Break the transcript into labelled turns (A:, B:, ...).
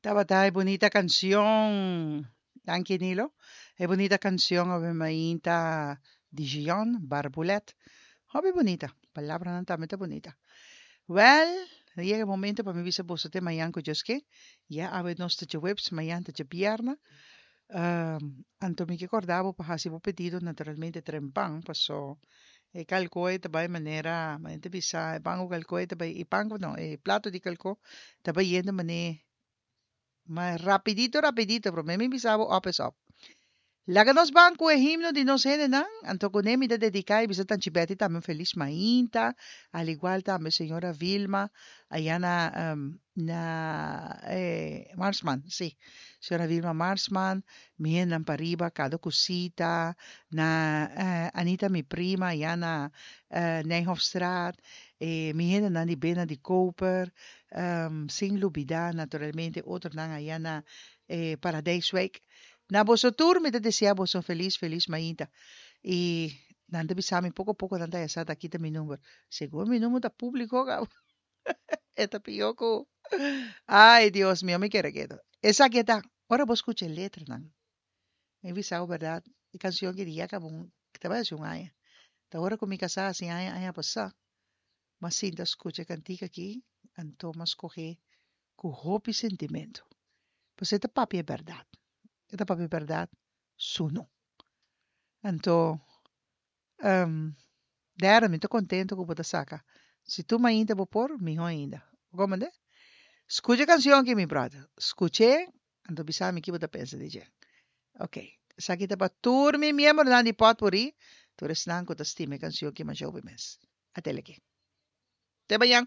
A: Tabata e bunita cancion. Danki Nilo. E bunita cancion awe mainta di Gion Barbulet. Hopi bunita. Palabranan tambe ta bunita. Wel, a yega e momento pa mi bisa boso te mañan ku Dios ke. Ya awe nos ta djaweps, mañan ta djabièrnè. Anto mi ke kòrda bo pa hasi bo pedido naturalmente trempan paso e kalkoe ta bai manera, manera ta bisa e pan ku kalkoe ta bai, e pan ku no, e plato di kalko ta bai yendo mane ma rapidito rapidito prome mi bisa bo op es op. Laga nos ban ku e himno di nos hendenan, anto kuné mi ta dediká i bisa Tanchi Betty tambe un felis mainta, al igual tambe señora Vilma aya na na Marsman, sí, señora Vilma Marsman, mi hendenan pariba, Kado Kusita, na Anita mi prima aya na Nijhofstraat, mi hendenan di Bena di Koper, sin lubidá naturalmente otronan aya na Paradijswijk. Na boso tur mi ta desea boso un felis felis mainta. I nan ta bisa mi poko poko nan ta haya sa ta kita mi number. Segun mi number ta publico caba. E ta pio cu ay Dios mio mi kere keto. Esaki e ta ora bo scucha e letranan. Mi bisa bo berdad e cancion aki di ya caba un ta bai haci un aña. Ta ora cu mi casa haci aña aña pasa m'a sinta scucha e cantica aki anto m'a scoge cu hopi sentimento. Pasobra e ta papia e berdad. E ta papia e berdad sunu. Anto, Derde, mi ta contento cu bo ta saca. Si tur mainta bo por, miho ainda. Bo comprende? Scucha e cancion aki, mi brother. Scuch'e, anto bisa mi ki bo ta pensa di dje. Ok. Esaki ta pa tur mi miembronan di Potpourri, tur esnan cu ta stima e cancion aki masha hopi mes. Atele aki. Te mañan!